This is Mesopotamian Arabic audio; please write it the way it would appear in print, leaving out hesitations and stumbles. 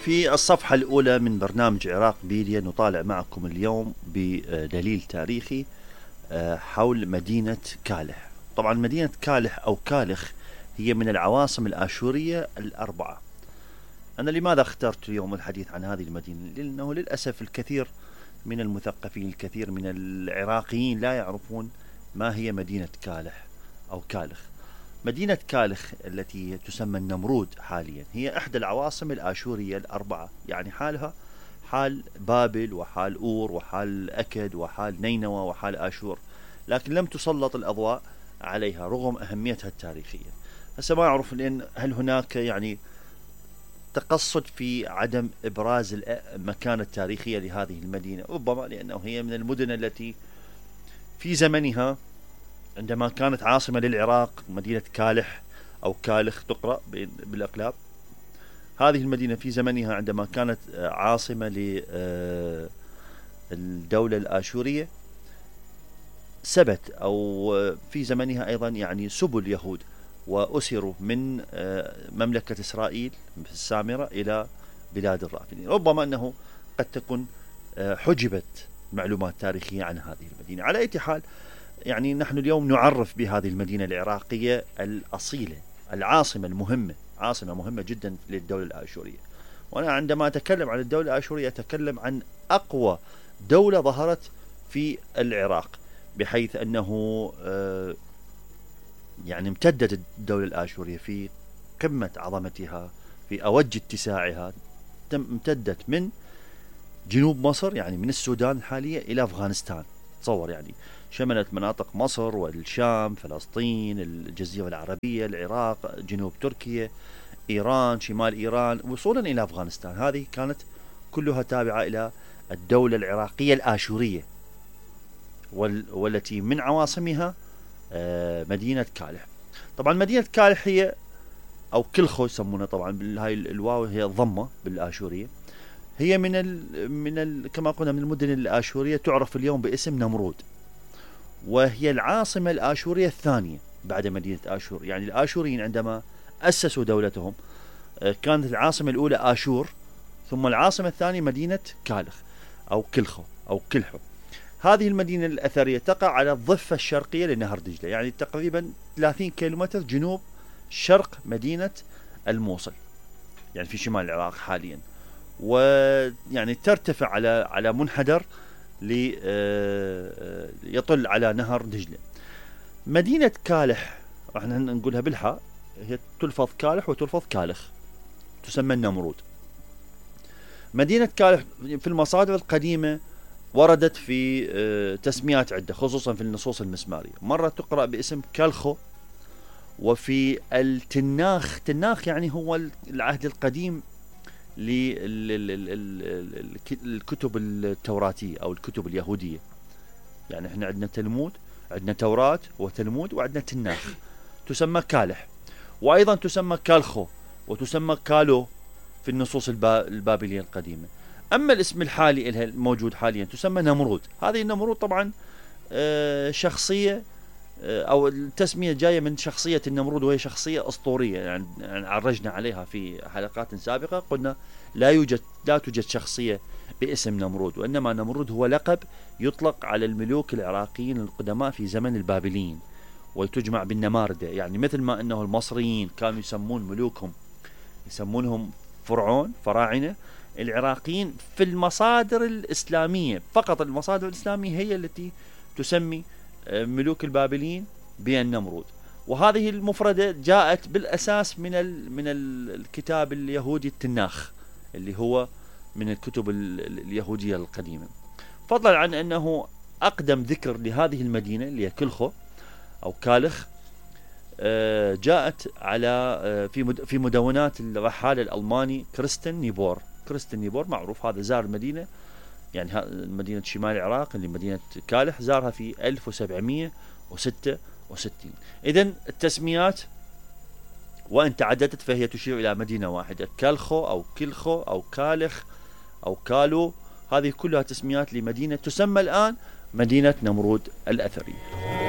في الصفحة الأولى من برنامج عراق بيديا نطالع معكم اليوم بدليل تاريخي حول مدينة كالح. طبعا مدينة كالح أو كالخ هي من العواصم الآشورية الأربعة. أنا لماذا اخترت اليوم الحديث عن هذه المدينة؟ لأنه للأسف الكثير من المثقفين، الكثير من العراقيين لا يعرفون ما هي مدينة كالح أو كالخ. مدينة كالخ التي تسمى النمرود حاليا هي إحدى العواصم الآشورية الأربعة، يعني حالها حال بابل وحال أور وحال أكد وحال نينوى وحال آشور، لكن لم تسلط الأضواء عليها رغم أهميتها التاريخية. هسه ما أعرف لأن هل هناك يعني تقصد في عدم إبراز المكانة التاريخية لهذه المدينة، ربما لأنه هي من المدن التي في زمنها عندما كانت عاصمة للعراق مدينة كالح أو كالخ تقرأ بالأقلاب. هذه المدينة في زمنها عندما كانت عاصمة للدولة الآشورية سبت أو في زمنها أيضا يعني سبوا اليهود وأسروا من مملكة إسرائيل السامرة إلى بلاد الرافدين. ربما أنه قد تكون حجبت معلومات تاريخية عن هذه المدينة. على أي حال يعني نحن اليوم نعرف بهذه المدينة العراقية الأصيلة، العاصمة المهمة، عاصمة مهمة جدا للدولة الآشورية. وأنا عندما أتكلم عن الدولة الآشورية أتكلم عن أقوى دولة ظهرت في العراق، بحيث أنه يعني امتدت الدولة الآشورية في قمة عظمتها في أوج اتساعها، امتدت من جنوب مصر يعني من السودان الحالية إلى أفغانستان. تصور يعني شملت مناطق مصر والشام، فلسطين، الجزيرة العربية، العراق، جنوب تركيا، إيران، شمال إيران، وصولا إلى أفغانستان. هذه كانت كلها تابعة إلى الدولة العراقية الآشورية، والتي من عواصمها مدينة كالح. طبعا مدينة كالح هي أو كلخو يسمونها، طبعا هاي الواو هي ضمة بالآشورية. هي كما قلنا من المدن الآشورية، تعرف اليوم باسم نمرود، وهي العاصمة الآشورية الثانية بعد مدينة آشور. يعني الآشوريين عندما أسسوا دولتهم كانت العاصمة الأولى آشور، ثم العاصمة الثانية مدينة كالخ أو كلخو أو كلحو. هذه المدينة الأثرية تقع على الضفة الشرقية لنهر دجلة، يعني تقريبا 30 كيلومتر جنوب شرق مدينة الموصل، يعني في شمال العراق حاليا، ويعني ترتفع على منحدر يطل على نهر دجلة. مدينة كالح راح نقولها بالحاء، هي تلفظ كالح وتلفظ كالخ، تسمى النمرود. مدينة كالح في المصادر القديمة وردت في تسميات عدة، خصوصا في النصوص المسمارية. مرة تقرأ باسم كالخو، وفي التناخ، تناخ يعني هو العهد القديم للكتب التوراتية أو الكتب اليهودية. يعني احنا عندنا تلمود، عندنا توراة وتلمود، وعندنا تناخ تسمى كالح، وأيضا تسمى كالخو وتسمى كالو في النصوص البابلية القديمة. أما الاسم الحالي الموجود حاليا تسمى نمرود. هذه النمرود طبعا شخصية أو التسمية جاية من شخصية النمرود، وهي شخصية أسطورية. يعني عرجنا عليها في حلقات سابقة، قلنا لا توجد شخصية باسم نمرود، وإنما نمرود هو لقب يطلق على الملوك العراقيين القدماء في زمن البابليين، وتجمع بالنماردة. يعني مثل ما أنه المصريين كانوا يسمون ملوكهم يسمونهم فرعون، فراعنة، العراقيين في المصادر الإسلامية فقط، المصادر الإسلامية هي التي تسمي ملوك البابليين بالنمرود. وهذه المفردة جاءت بالأساس من الكتاب اليهودي التناخ، اللي هو من الكتب اليهودية القديمة. فضلا عن أنه أقدم ذكر لهذه المدينة اللي هي كلخو أو كالخ جاءت على في مدونات الرحالة الألماني كريستن نيبور. كريستن نيبور معروف، هذا زار المدينة، يعني مدينة شمال العراق اللي مدينة كالح زارها في 1766. إذن التسميات وإن تعددت فهي تشير إلى مدينة واحدة، كالخو أو كلخو أو كالخ أو كالو. هذه كلها تسميات لمدينة تسمى الآن مدينة نمرود الأثرية.